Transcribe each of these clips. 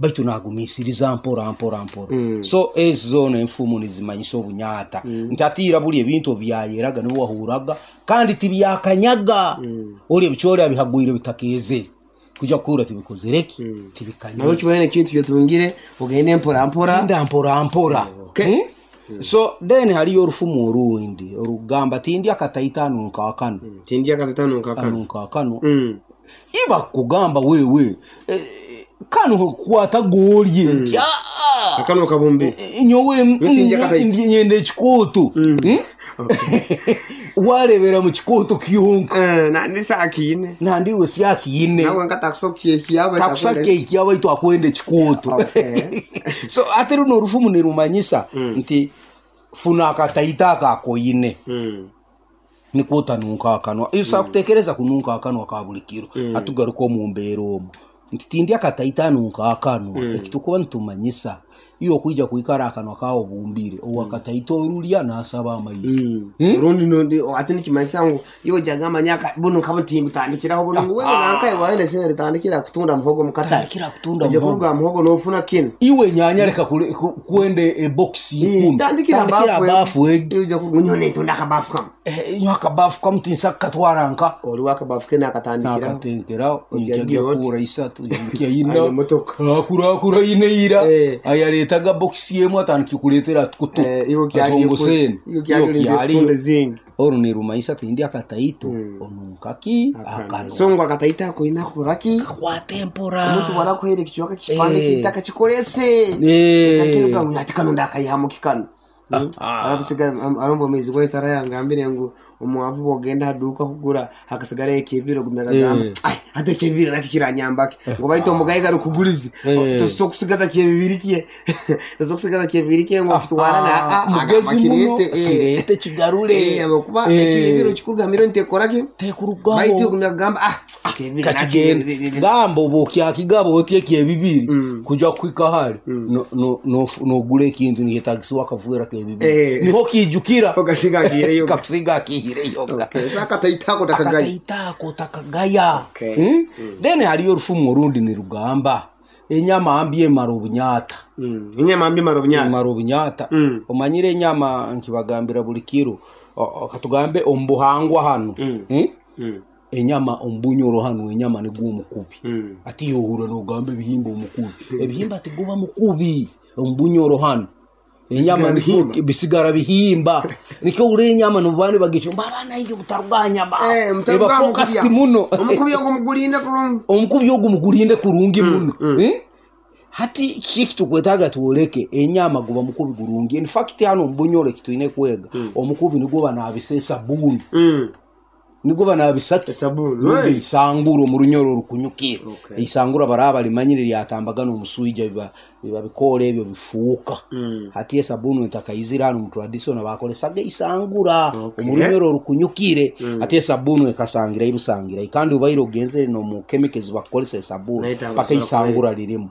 Baitu nagumisiriza mpora mpora mpora. So ezi zoona enfumu nizimanyisa obunyata nti hati ira buri ebintu obubyayeraga nibwo wahuraga kandi tibyakanyaga. Ori ebicoori abihagwire bitakeezere kwija kuhurra tibikozire ki? Nawe Tibikanyire. kibaire n'ekintu kyotungire ogende mpora mpora. Genda mpora mpora. Okay. So then hariyo orufumu orundi orukugamba tindya akataito anunka akanwa. Tindya akataito anunka akanwa. Anunka akanwa. Iba kugamba wewe kanu kwata gorye nti aa Akanwa kabumbire. Nyowe Nyowe tindya akataito. Nyenda ekikooto. Warebera mu kikooto kyonka. Nandi sakiine. Nandi iwe syakiine. Nawe nka takusa kukyekya baitu Takusa akwenda. kukyekya baitu akwenda ekikooto. Okay. So ate runo orufumu nirumanyisa nti funa akataito ako akoine. Nikwo otanunka akanwa. Osobola kutekereza kununka akanwa ka buri kiro. Hati tugaruke omu mbeera omu. Nti tindya akataito anunka akanwa. Eki turikuba nitumanyisa, iwe okwija kwikara akanwa kaawe obumbire, ow'akataito orurya naasaba amaizi. Orundi nondi ati nikimanyisa ngu iwe ojagamba nyaka bunu nka timbutandikiraho bunu ngu wewe nanka iwe waine sente tandikira kutunda muhogo mu katare. Tandikira kutunda Oje muhogo. kuruga muhogo nofuna kinu. Iwe nyanya reka kwenda ebokisi ikumi. Tandikira Tandikira bafu. bafu egi. Iwe ojja kunyowe nitunda akabafu kamu. Nyowe akabafu kamu tinsa kukatwara nka. Oriwo akabafu ke nakatandikiraho. Nakatenkeraho Ojja ninkya gira oti. kura isatu ninkya ina. Aine motoka. Akurakura ina ira. Ayaretaga bokisi emwe atandika kuretera kutu. Iwe kyali Azongoseni. Iwe kyali Iwe kyali. kutunda zingi. Oru nirumanyisa tindi akataito onunka ki akanwa. So ngu akataito ako oine kukora ki? Kakwata empora. Omuntu bwarakuheera ekicweka kipande ky'eitaka kikorese. Kakiruga ngu ati kanu ndakaihamu ki kanu. Arabisiga aromba omwezi gwaitu arayangambire ngu omwavu bwogenda aha duuka kugura hakasigarayo ekyebiro ogumya akagamba ai hati ekyebibiri nakyo kiranyamba ki ngu baitu omugaiga arikugurize tosobola kusigaza kyebibiri kye tosobola kusigaza kyebibiri kye ngu okitwara na Mugezi agamba muno kireete kireete kigarure. Ahabw'okuba ekyebibiri kikuruga milioni tekora ki Tekurugaho. Baitu ogumya akagamba ah ekyebibiri nakyo Kakigenda. Gamba obu okyakigaba oti ekyebibiri kuja kuhika hare nogura ekintu nikyetagisibwa akaveera kebibiri. Niho kiijukira. Okasiga akiihireyo. Kakusiga akiihireyo. Okay. So akataito ako otakagaya. Akataito ako otakagaya. Okay. Then hariyo orufumu orundi nirugamba enyama mbi emara obunyata. Enyama mbi emara obunyata. Emara obunyata. Omanyire enyama nkibagambira buri kiro katugambe omu buhangwa hanu. Enyama omu bunyoro hanu enyama niguba omukubi. Hati iwe ohurra nogamba ebihimba omukubi. Ebihimba tiguba mukubi omu bunyoro hanu. Enyama Bisigara bihimba. Bisigara bihimba. Nikyo ohurra enyama nobu nibagicumba abaana inye mutaruga aha nyama. Mutaruga Eba aha focused mukubi. muno. Omukubi ogwo mugurinde kurungi. Omukubi ogwo mugurinde kurungi muno. Hati kiki ekitukwetaaga tworeke enyama guba mukubi gurungi. In fact hanu omu bunyoro eki twine kwega omukubi nigwo banaabisa esabuuni. Nigwo banaabisa ki? Esabuuni. Rundi eisangura omu runyoro orukunyukira. Okay. Eisangura baraba barimanyire ryatambaga n'omuswija biba biba bikoora ebyo bifuuka. Hati esabuuni etakaizire hanu omu traditional bakoresaga eisangura omu runyoro orukunyukire. Hati esabuuni ekasangira busangira. Kandi obaire ogenzere n'omu chemical ezi bakukoresa esabuuni Nayo paka eisangura ririmu.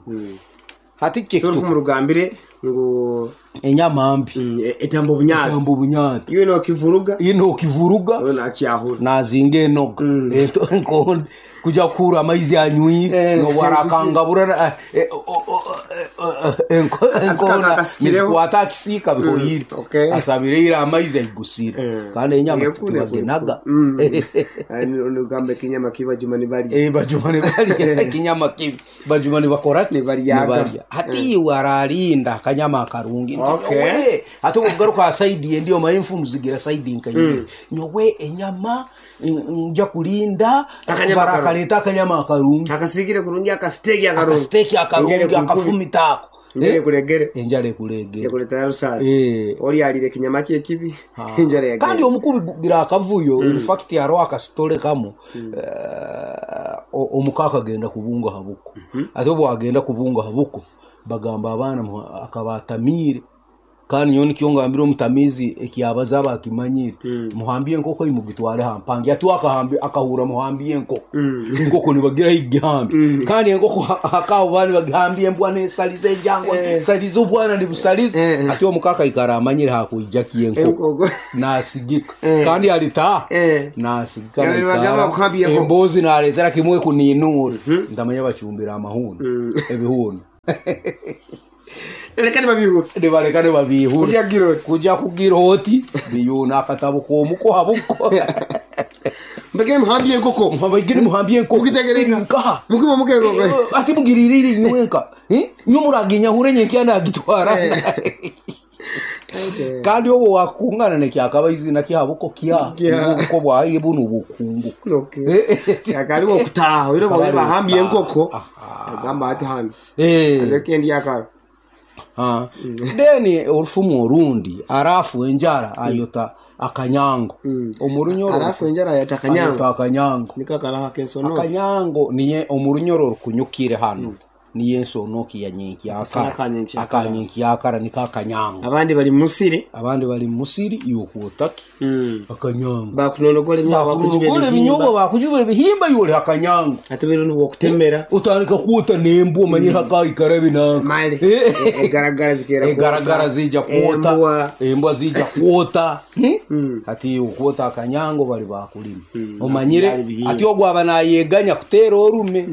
Hati So orufumu rugambire ngu enyama mbi etamba obunyata. Etamba obunyata. Iwe nokivuruga. Iwe nokivuruga. Iwe nakyahura. Nazinga enoga. Enkonde kuja kuhurra amaizi anywire nobu arakangabura enkoona nizikwata aha kisiika bihoire. Okay. Asabire ira amaizi aigusire. Kandi enyama tibagenaga. Nogamba ekinyama kibi bajuma nibarya. Bajuma nibarya ekinyama kibi. Bajuma nibakora ki? Nibaryaga. Nibarya. Hati iwe ararinda akanyama akarungi. Nti Okay. nyowe hati obugaruka aha saidi endi omanye enfumu zigira saidi nka ibiri. Nyowe enyama nja kurinda Akanyama barakareeta akanyama akarungi. Akasigire kurungi akasiteeki akarungi. Akasiteeki akarungi Enjara ekukubi. akafumita ako. Enjara ekuregere. Enjara ekuregere. Ekureetera rusaasi. Oryarire ekinyama kye ekibi enjara yagenda. Kandi omukubi gugira akavuyo. In fact hariho akasitore kamwe omuka akagenda kubunga aha buko. Ati obu agenda kubunga aha buko bagamba abaana akaba atamiire. Kandi nyowe nikyo ngambire omutamiizi ekyabaza aba akimanyire. Muhambye enkoko imugitware aha mpangi. Ati akahurra muhambye enkoko. Enkoko nibagira ahi gihambye. Kandi enkoko hakaho baba nibagihambya embwa nesaliza enjangwa, esaliza obwana nibusaliza. Ati omuka akaikara amanyire hakwija ki enkoko. Enkoko. Nasigika. Kandi alitaha. Nasigika Yaani naikara. bagamba kuhambya enkoko. Embuzi nareetera kimwe kuninuura. Ntamanya bacumbira amahuni. Ebihuni. Reka nibabiihura. Nibareka nibabiihura. Kugya kugira oti. Kugya kugira oti biyuuna akatabo k'omuko ha buko. Mbegere muhambye enkoko. Mbegere muhambye enkoko. Mugitegere Eri nkaha. Mukiba muke enkoko. Ati mugirire inywenka. Nyo muraginyahure nyenkya nagitwara. Kandi obu wakungana nekyakaba izina kyabuko kya Kya. obuko bwaye bunu bukungu. Okay. Akariwo kutaha oire Akaba bwe bahambye ari enkoko. Aha. Agamba ati hano. Eh. Aleke ndi akara. Ah. Then orufumu orundi arafu enjara ayota akanyango. Omurunyoro Arafu enjara ayota akanyango. Ayota akanyango. Niko akaraha kensono. Akanyango niye omurunyoro rukunyukire hano. Niye ensonoki ya nyenkyakara. Akanyenkyakara. Akanyenkyakara niko akanyango. Abandi bari musiri. Abandi bari musiri yokwotaki akanyango. Bakunonogora emyaka Bakunogora ebinyobwa bakujuba ebihimba yoli akanyango. Ate bero nibwo kutemera. Utandika kwota nembwa omanyire hakaikara ebinanka. Male. Egaragara zikera. Egaragara zija kwota. Embwa. Embwa zija kwota. Ati okwota akanyango bali bakulima. Omanyire Byali bihimba. ati ogwo aba nayeganya kuteera orume.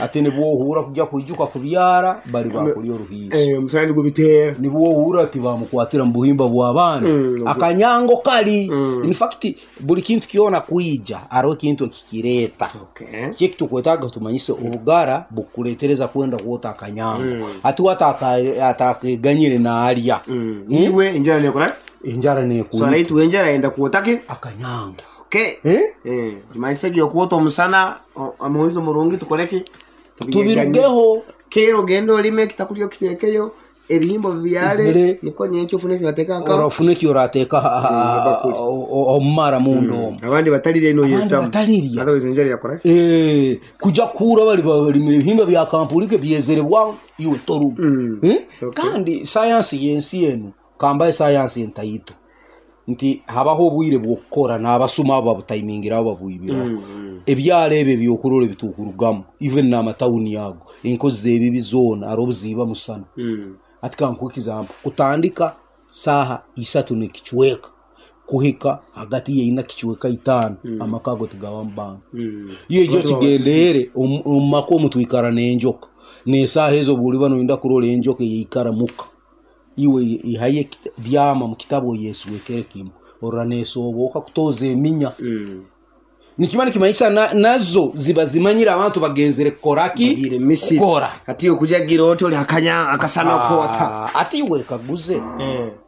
Ati nibwohura kujya kwijuka kubyara bali bakulya oruhiisa. Omusana nigubiteera. Nibwohura ati bamukwatira mu buhimba bw'abaana. Akanyango kali. In fact buli kintu kyona kwija hariho ekintu ekikireeta. Okay. Kiki tukwetaaga tumanyise obugara bukuletereza kwenda kwota akanyango. Ati watakeganyire naalya. Iwe enjara nekora. Enjara So nekuita araitu enjara yenda kuotake. akanyango. Okay. Eh? Tumanyise ebyokwota omusana omuhuzi omurungi tukoreki. Tubirugeho. Kero ogenda olime ekitakurya okiteekeyo ebihimba bibyare Bire. niko nyenkya ofune ekyorateeka nkaho. Orafuna ekyorateeka omumara munda omu. Abandi batalirya ino Abandi yesamu. batalirya. Otherwise enjara yakora. Kujya kura bali balimira ebihimba bya kampurike byezerebwa iwe torumu. Okay. Kandi sayansi y'ensi enu kambaye sayansi entaito nti habaho obwire bw'okukora n'abasuma abo babutayimingiraho babwibiraho. Ebyaro ebyo ebyokurora ebitukurugamu even n'amatawuni ago enkozi z'ebibi zoona hariho obuziiba musana. Ati kankuhe example kutandika saaha isatu n'ekicweka kuhika hagati ya ina kicweka itaano amaka ago tigabamu bantu. Iyo egyo kigendeere omu maka omu twikara n'enjoka n'esaaha ezo bw'oliba noyenda kurora enjoka eyeikara muka iwe ihaye byama mu kitabu oyeswekere kimu orora neesoboka kutooza eminya. Nikiba nikimanyisa nazo ziba zimanyire abantu bagenzere kukoraki Bagire misiri. kukora. Ati okujagira oti oli akanya akasana kwota. Ati iwe kaguze.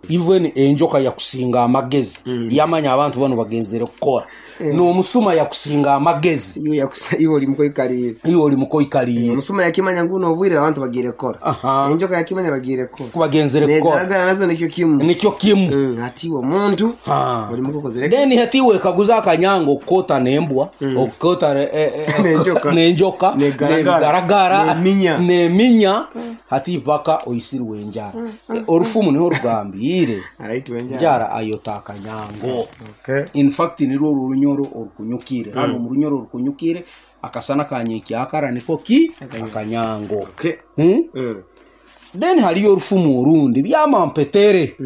Even enjoka yakusinga amagezi yamanya abantu bano bagenzere kukora. N'omusuma yakusinga amagezi. Iwe yakusa iwe oli mukoikalire. Iwe oli mukoikalire. Omusuma yakimanya nguno obwire abantu bagire kukora. Enjoka yakimanya bagire kukora. Kubagenzere kukora. Negaragara nazo nikyo kimu. Nikyo kimu. Ati iwe omuntu oli mukokozere. Then hati iwe kaguza akanyango okukota nembwa, okukota N'enjoka. n'enjoka, Negaragara. n'ebigaragara, N'eminya. n'eminya, hati paka oisirwe enjara. Orufumu niho rugambire. Araitwa enjara. Enjara ayota akanyango. Okay. In fact nirwo orunyoro orukunyukire. Hano mu runyoro orukunyukire akasana kanyenkyakara niko ki akanyango. Okay. Then hariyo orufumu orundi byamampetere.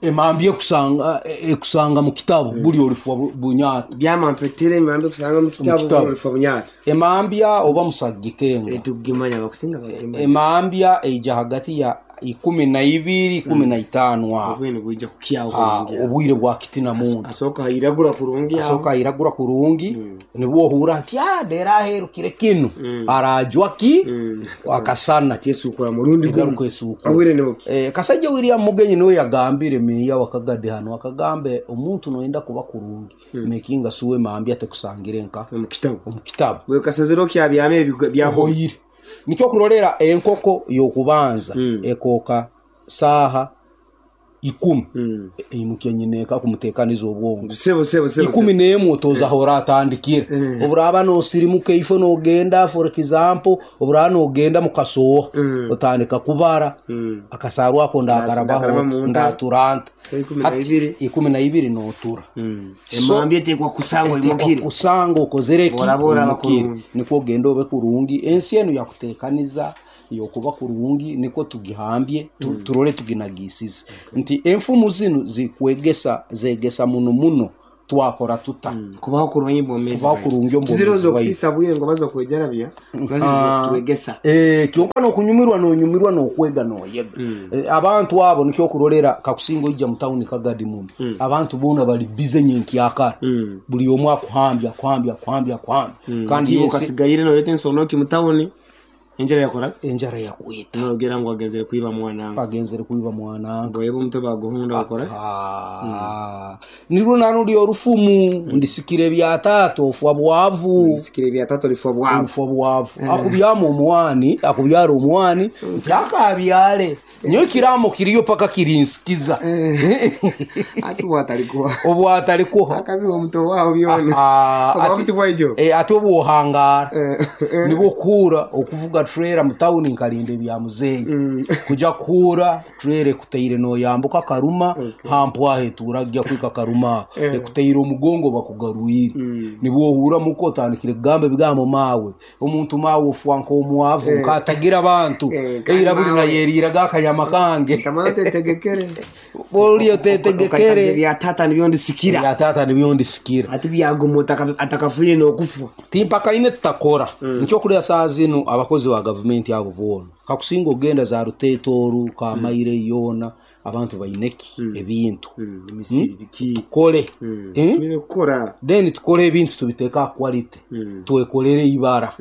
Emambi ekusanga mu kitabu buli olifwa bunyata. Byamampetere emambi ekusanga mu kitabu buli olifwa bunyata. Emambya oba musagikenga. Etugimanya bakusinga bagimanya. Emambya eija hagati ya 12 15 aho. Obwire bwija kukyaho kurungi. Obwire bwa kitina muntu. Asooka iragura kurungi aho. Asooka iragura kurungi. Nibwo ohura nti dera aherukire kinu. Arajwa ki? Akasana. Ati esukura murundi gumu. Egaruka esukura. Obwire ni buki. Kasajja William Mugenyi niwe yagambire meya wakagade hano akagambe omuntu noyenda kuba kurungi. Mekinga suwe mambya tekusangire nka Omu kitabu. Omu kitabu. Bwe kasaziro kyabyame byahoyire. Nikyo kurorera enkoko y'okubanza ekoka saaha 10. Eimukya nyineka kumuteekaniza obwongo. Sebo sebo sebo. 11 otoza hora atandikire. Oburaba nosirimuka ifo nogenda for example oburaba nogenda mukasoha otandika kubara. Akasarwa ako ndakarabaho ndaturanta. 12. 12 notura. Emambye etekwa kusangwa imukire. Kusanga okozere ki? Bora Imukire. bakurungi. Nikwo ogenda obe kurungi. Ensi enu yakuteekaniza yokuba kurungi niko tugihambye turole tuginagisize. Nti enfumu zinu zikwegesa zegesa muno muno. Twakora tuta? Kubaho kurungi omu bwomeezi Kubaho bwaitu. kurungi omu Tiziri bwomeezi bwaitu. ez'okusiisa bwire ngu baza kwejarabya, nazo z'okutwegesa. Eh, kyonka n'okunyumirwa n'onyumirwa n'okwega n'oyega. Eh, abantu abo nikyo okurorera kakusinga oija mu tawuni Kagadi muno. Abantu boona bali bize nyenkyakara. Buli omwe akuhambya akuhambya akuhambya akuhambya. Kandi Tiiwe ensi okasigaire noreeta ensonoki mu tawuni, enjara yakora enjara yakwita. Nogira ngu agenzere kwiba mwananga. Agenzere kwiba mwananga. Goyeba omutwe baguhunda okora. Ah, nirwo naruri orufumu ndisikire bya taata ofwa bwavu. Ndisikire bya taata olifwa bwavu. Ofwa bwavu. Akubyamu omwani, akubyara omwani, nti akabyare. Nyowe ekiraamo kiriyo paka kirinsikiza. Ati obwatarikuha. Obwatarikuha. Akabiha omuto waawe byona. Ah, Obwavu ati- tibwaijo. Eh, ati obwohangara Eh, nibwo okuhura okuvuga trailer mu tawuni nkarinda ebya muzeeyi kuja kuhura trailer ekuteire noyambuka karuma hampwaho etuura kugya kuhika karuma aho ekuteire omugongo bakugarwire nibwo ohura muka otandikire kugamba ebigambo maawe omuntu maawe ofwa nk'omwavu nkatagira abantu kandi eira buri maawe. nayeriiraga akanyama kange Tamara otetegekere. bori Okaikaza otetegekere ebya taata nibyo ndisikira. ebya taata nibyo ndisikira Ati byaguma atakafiire n'okufa. timpakaine tutakora nikyo kurya saa zinu abakozi ba gavumenti abo boona kakusinga ogenda za ruteeta oru kamaire yoona abantu baineki ebintu Emisiri biki. tukore Eh? Twine kukora. Then tukore ebintu tubiteeke aha quality twekorere ibara.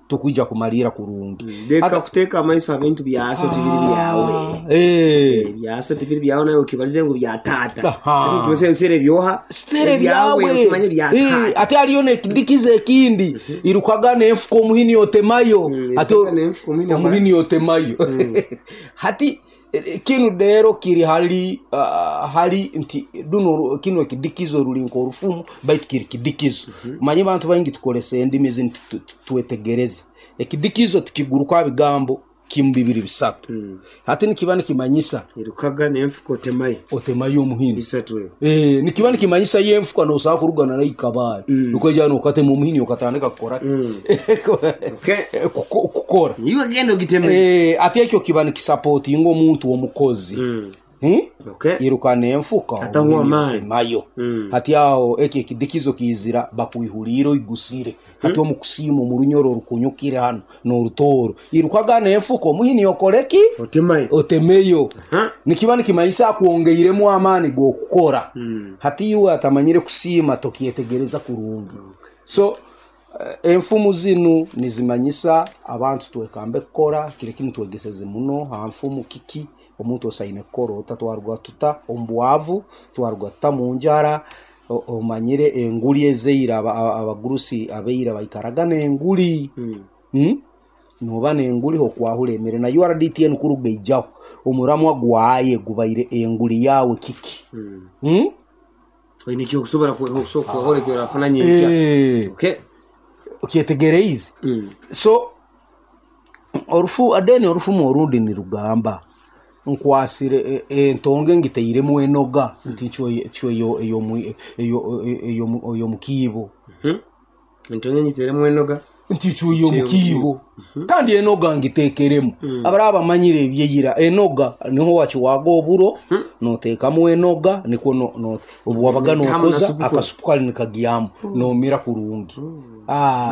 Tukwija kumalira kurungi. Leka kuteeka amaiso aha bintu byaso tibiri byawe. Eh. Ebyaso tibiri byawe nawe okibarize ngu bya taata. Aha. Ebintu ebyoha. Sitere byawe okimanye bya Eh, taata. ate hariyo nekidikiza ekindi irukaga nenfuka omuhini otemayo ate irukaga n'enfuka omuhini omuhini otemayo hati kinu rero kiri hali hali nti duno kinu ekidikizo ruri nk'orufumu baitu kiri kidikizo manye bantu baingi tukoresa endimi zini twetegereze ekidikizo tikiguruka bigambo kimu bibiri bisatu hati nikiba nikimanyisa Irukaga n'enfuka otemayo. otemayo omuhini Bisatu ebyo. Eh, nikiba nikimanyisa yenfuka nosobola kurugana nayo ikabaare nukwija nokatema omuhini okatandika kukora Okay. kukora Iwe genda ogiteme. Eh, ate ekyo kiba nikisapotinga omuntu omukozi Hmm? Okay. iruka nenfuka Ataho omuhini amaani. otemayo hati aho ekyo ekidikizo kiizira bakwihuriire oigusire hati omukusiima omurunyoro orukunyukire hano n'orutooro irukaga nenfuka omuhini okoreki Otemayo. otemeyo Aha. nikiba nikimanyisa akwongeiremu amaani g'okukora hati iwe atamanyire kusiima tokyetegereza kurungi so enfumu zinu nizimanyisa abantu twekambe kukora kire kinu twegeseze muno ha nfumu kiki omuntu osaine kukora ota twaruga tuta omu bwavu twaruga tuta mu njara omanyire enguli ezeira abagurusi abeira baikaraga n'enguli noba nenguli okwahura emere na URDTN kuruga ijaho omuramwa gwaye gubaire enguli yawe kiki Oine ekyokusobora kuhora ekyo orafuna nyenkya. Eh, Okay. okyetegereize so orufu adeni orufumu orundi nirugamba nkwasire entonge ngiteiremu enoga nti cyo eyo mukiibo Entonge ngiteremu enoga. nti cyo mukiibo kandi enoga ngitekeremu abaraba bamanyire ebyeira enoga niho wakiwaga oburo noteekamu enoga nikwo obu wabaga Hamu na nokoza supu. akasupu kali nikagyamu nomira kurungi Ah,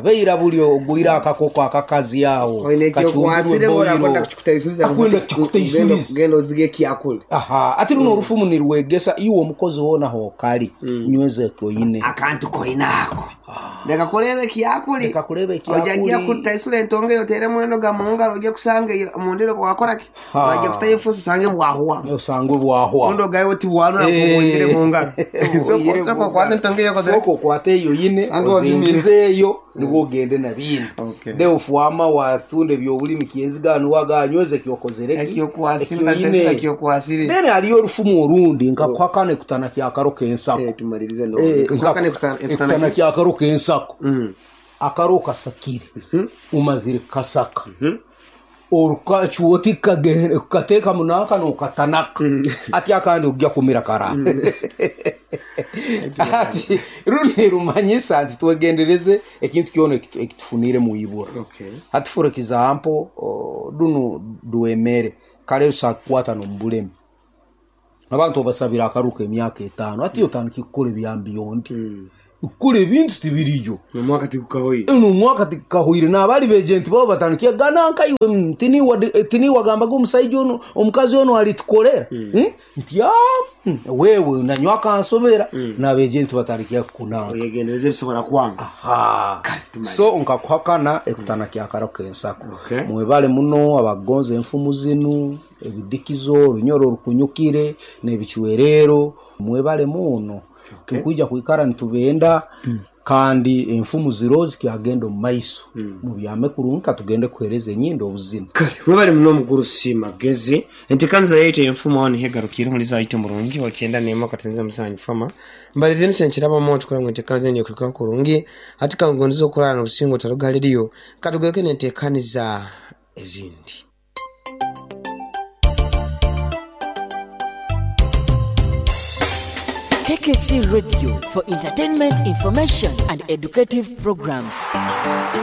beira buli ogwire akakoko akakazi aho Oine ekyokwasire kacumbirwe ora boiro. akwenda kukikutaisuliza. Akwenda kukikutaisuliza. Genda ozige ekyakule. aha ati runo orufumu nirwegesa iwe omukozi woona hokali nyweza ekoine Akantu koinako. Leka kureba ekyakuli. Leka kureba ekyakuli. Ojagia kutaisula entonge yoteremu enoga mu ngaro ojja kusanga eyo mundiro bwakoraki. Ha. Wajja kutayo efuusi osange bwahuwa. osangwe bwahwa Ondo gawe tibwanura Eh. kuwongere mu ngaro. Oyire Soko mu soko kwata ngaro. entonge yokozere. Sooka okwate eyo yine Sange wabimire. ozingize eyo nibwo ogende na bindi Okay. de ofuama watunda ebyobulimi kyeziganu waganyweze kyokozereki Ekyokwasire utaisula ekyokwasire. then hariyo orufumu orundi nkakwakana ekutana kyakaro k'ensako Eh tumalirize no. Eh, Kwakana ekutana kyakaro k'ensako akaro kasakire umazire kasaka orukacuoti kateeka munaka nokatanaka ati akandi ojja kumira kara ati runi rumanyisa nti twegendereze ekintu kyona ekitufunire muibura Okay. hati for example dunu duemere kale rusakukwata nomubulemi. Abantu obasabire akaruru k'emyaka etaano hati otandike kukora ebya beyond. Kukora ebintu tibiriyo. N'omwaka tigukahoire. N'omwaka tigukahoire n'abari beegyenti baabo batandike gana nka iwe tiniiwe wagambaga omusaija onu omukazi onu aritukorera nti aa wewe nanyowe akansobera n'abeegyenti batandike kukunanka. Oyegendereze ebisobora kwanga. Kale tumanyire. So nkakuhakana ekutana kyakara k'ensako. Okay. Mwebale muno abakugonza enfumu zinu, ebidikizo, orunyoro orukunyukire n'ebicwerero mwebale muno. Tukwija kwikara nitubenda kandi enfumu ziro zikyagenda omu maiso. Mubyame kurungi katugende kuhereza enyindo obuzina. Kale webale muno omugurusi Magezi. Entekaniza yaitu enfumu aho niho egarukiire omulizi waitu omurungi owa 91 katenze musanju fama. Mbali Vincent Kirabamu otukora ngu entekaniza enu ekuhikaho kurungi. Hati kangondeze okurara nobusinge otaruga hali eriyo. Katugaruke nentekaniza ezindi. KKC Radio for entertainment, information and educative programs.